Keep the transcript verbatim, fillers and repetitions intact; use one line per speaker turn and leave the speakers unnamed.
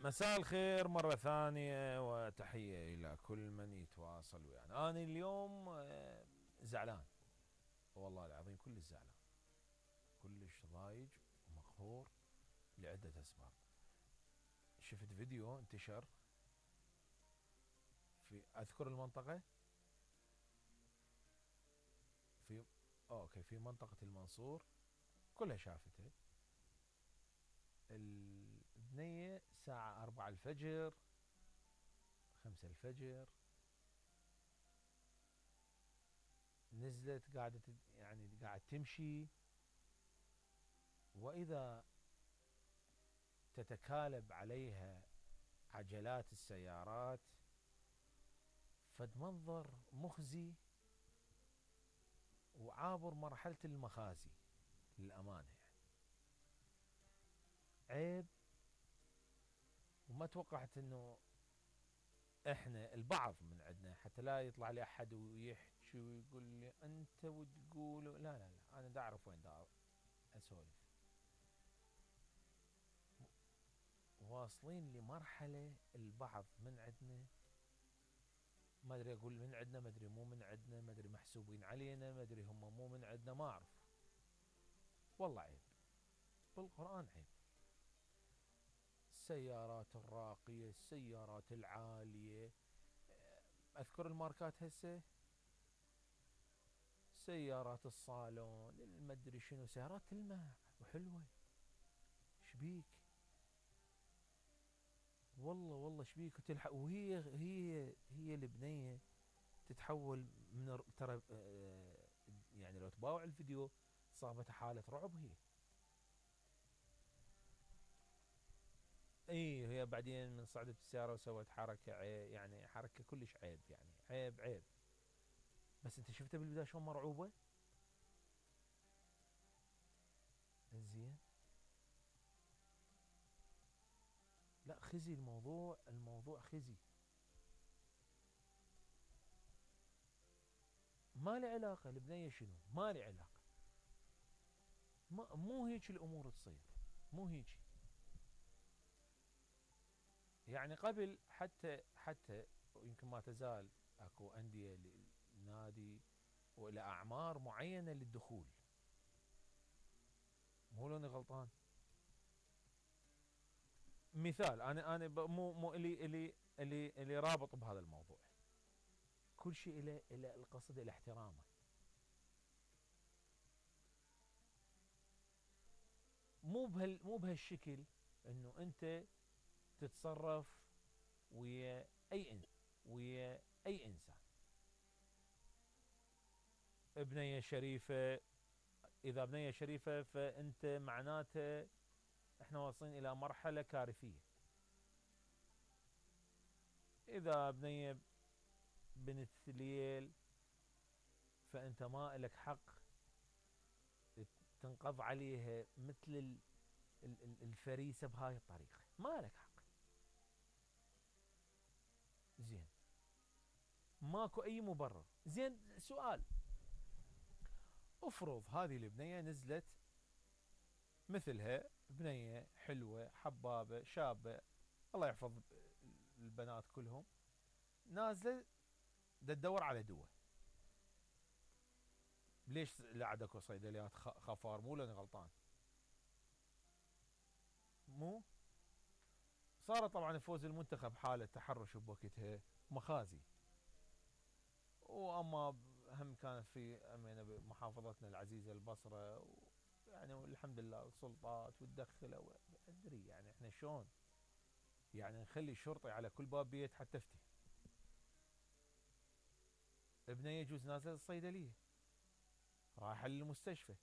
مساء الخير مرة ثانية وتحية إلى كل من يتواصل ويانا. أنا اليوم زعلان والله العظيم، كلش زعلان، كلش ضايج ومقهور لعدة أسباب. شفت فيديو انتشر في أذكر المنطقة في أوكي في منطقة المنصور، كلها شافته. البنية الساعة أربعة الفجر خمسة الفجر نزلت قاعدة يعني قاعد تمشي، وإذا تتكالب عليها عجلات السيارات، فد منظر مخزي وعابر مرحلة المخازي للأمانة. يعني عيب، وما توقعت انه احنا البعض من عندنا حتى لا يطلع لي احد ويحكي ويقول لي انت وتقول لا لا لا، انا دا اعرف وين دا اسولف. واصلين لمرحلة البعض من عندنا، ما ادري اقول من عندنا، ما ادري مو من عندنا، ما ادري محسوبين علينا، ما ادري هم مو من عندنا، ما اعرف. والله عيب، بالقرآن عيب. السيارات الراقية، السيارات العالية، اذكر الماركات هسه، سيارات الصالون، المدري شنو، سيارات تلمع وحلوة. شبيك؟ والله والله شبيك وتلحق، وهي هي هي البنية تتحول من ترى يعني لو تباوع الفيديو صابت حالة رعب هي. اي هي بعدين من صعدت السيارة وسوت حركة عيب، يعني حركة كلش عيب، يعني عيب عيب. بس انت شفتها بالبداية شلون مرعوبة؟ زين، لا خزي الموضوع، الموضوع خزي، ما له علاقة البنية شنو، ما له علاقة، ما مو هيك الامور تصير، مو هيك. يعني قبل حتى حتى يمكن ما تزال اكو اندية للنادي والى اعمار معينة للدخول، مو لاني غلطان. مثال انا انا مو مو الي الي الي الي رابط بهذا الموضوع، كل شيء الى الى القصد الى احترامه. مو بهال مو بهالشكل انه انت تتصرف ويا اي انسان، ويا اي انسان. بنية شريفة، اذا بنية شريفة فانت معناته احنا واصلين الى مرحلة كارثية. اذا بنية بنت ليل فانت ما لك حق تنقض عليها مثل الفريسة بهاي الطريقة، ما لك حق. زين، ماكو اي مبرر. زين سؤال، افرض هذه البنية نزلت مثلها بنية حلوة حبابة شابة، الله يحفظ البنات كلهم، نازلة دا تدور على دواء. ليش لا عاد اكو صيدليات خفار؟ مو لاني غلطان، مو صارت طبعا فوز المنتخب حالة تحرش بوقتها مخازي، واما هم كانت في محافظتنا العزيزة البصرة، يعني والحمد لله السلطات وتدخل ادري يعني احنا شلون يعني نخلي شرطي على كل باب بيت حتى تفتي. ابني يجوز نازل الصيدلية رايح للمستشفى،